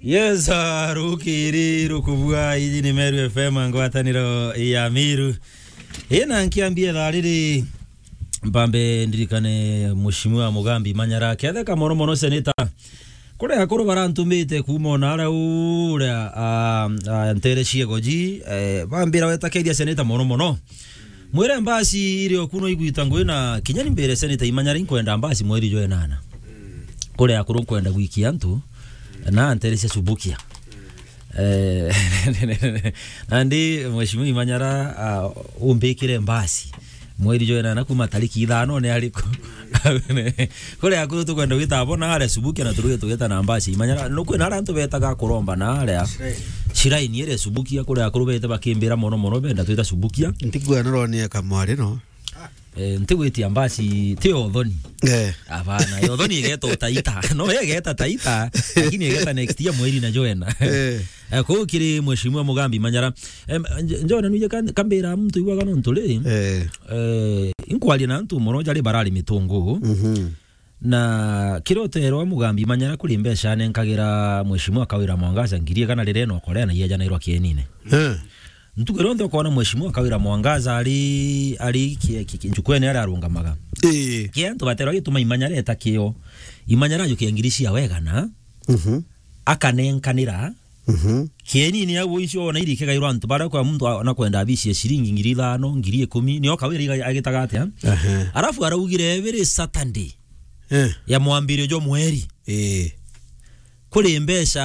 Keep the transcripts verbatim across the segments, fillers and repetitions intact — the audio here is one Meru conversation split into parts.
Yes, ah, rukiri rukubua, iji ni Meru F M, ngwataniro ya Miru. Ina nkiambia thaa riri, mpambe ndirikane Mheshimiwa Mugambi Manyara, ketheka mono mono seneta. Kuria akuru barantumite kuuma ona aria uria, ah, ah, ntere ciego ji, eh, bambira weta keria seneta mono mono. Mwire mbasi iri okuno igwita ngui na kinya ni mbire seneta Imanyara inkwenda mbasi mweri jwa enana. Kuria akuru nkwenda gwikia antu, na ntere cia Subukia. Eh, nandi Mheshimiwa Imanyara, ah, umbikire mbasi. Mweri jwa enana kuma tariki ithano ni ariku? Kuria akuru tukwenda gwita abo na aria Subukia na turuge tugeta na mbasi Imanyara. No kwina aria antu betaga kuromba na aria Shiraini iri Subukia, kuria akuru bete bakimbira mono mono benda twita Subukia. Ntigua noronie kamwari no. Eh, ntigwitia mbasi, ti Othoni. Eh. Abana, Othoni igeta Taita. No, igeta Taita, lakini igeta next year mweri na jwa ena. Eh. Eh, kuu kiri Mheshimiwa Mugambi Manyara. Em, nj-, njona nuje kan-, kambira muntu igwaga nontu ri. Eh. Eh, inkwaria na antu mono jari barari mitungu. Mhm. Na kiri uterwa Mugambi Manyara kuri mbeca anenkagira Mheshimiwa Kawira Mwangaza ngiri igana riria enokorea na iejanairwa kienine. Eh. Ntuku iria yonthe ukoona Mheshimiwa Kawira Mwangaza ari, ari ki-, ki-, ki-, njukwene aria arungamaga. Ii. Kia antu baterwa gituma Imanyara eta kio. Imanyara ajukia ngiri cia wegana, Mhm. akanenkanira. Mhm. Kienini au icio ona iri ikagairwa antu baria kwa muntu a-, ona kwenda abisi ya ciringi ngiri ithano, ngiri ikumi, nio Kawira iga-, agitaga atia? Aha. Arafu araugire every Saturday Eh. ya mwambirio jwa mweri. Ii. Kuri mbeca,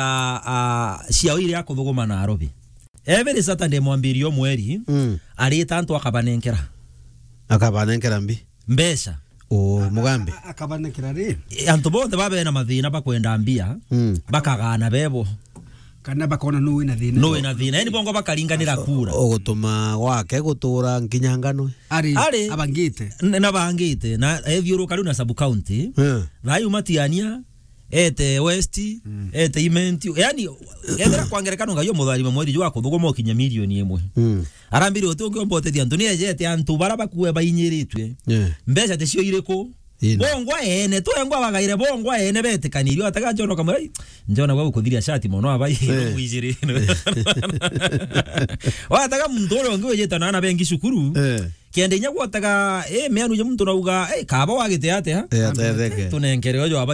ah, ciao iria akuthuguma Nairobi. Every Saturday mwambirio mweri, Mm. arita antu akabanenkera. Akabanenkera mbi? Mbeca. O, Mugambi. A-, a-, akabanenkera ri? E, antu bonthe babe na mathina bakwenda mbia, Mm. bakagana bebo. Kana bakona nuu wina thina. Nuu wina thina. Yani bongo bakaringanira kura. Ugutuma gwake gutura nkinya ngano. Ari, Ari. abangite. N-, na bangite. Na ethiuruka riu na sub county. Eh. Thayu Matiania, ete West, Mm. ete Imenti. Yani, ethira kwa ngerekano ngai omutharima mweri jwa kuthuguma ukinya milioni imwe. Mm. Arambire uti ungi omba utethia antu, ni ejete antu bara bakue bainyiritwe. Yeah. Mbeca ticio iriku? Ina. Bongwa ene, twengwa bagaire bongwa ene betikanirio, atega John Kamara, "Ai, John gwa gukuthiria shati mono abai, Eh. mwijiri." Watega muntu uria ungi wijite na ana bengi cukuru. Eh. Kenda inya gwotega, eh, meanu je muntu nauga, "Eh, kaba wagite atia?" Eh, atetheke. Tunenkere ujo abai.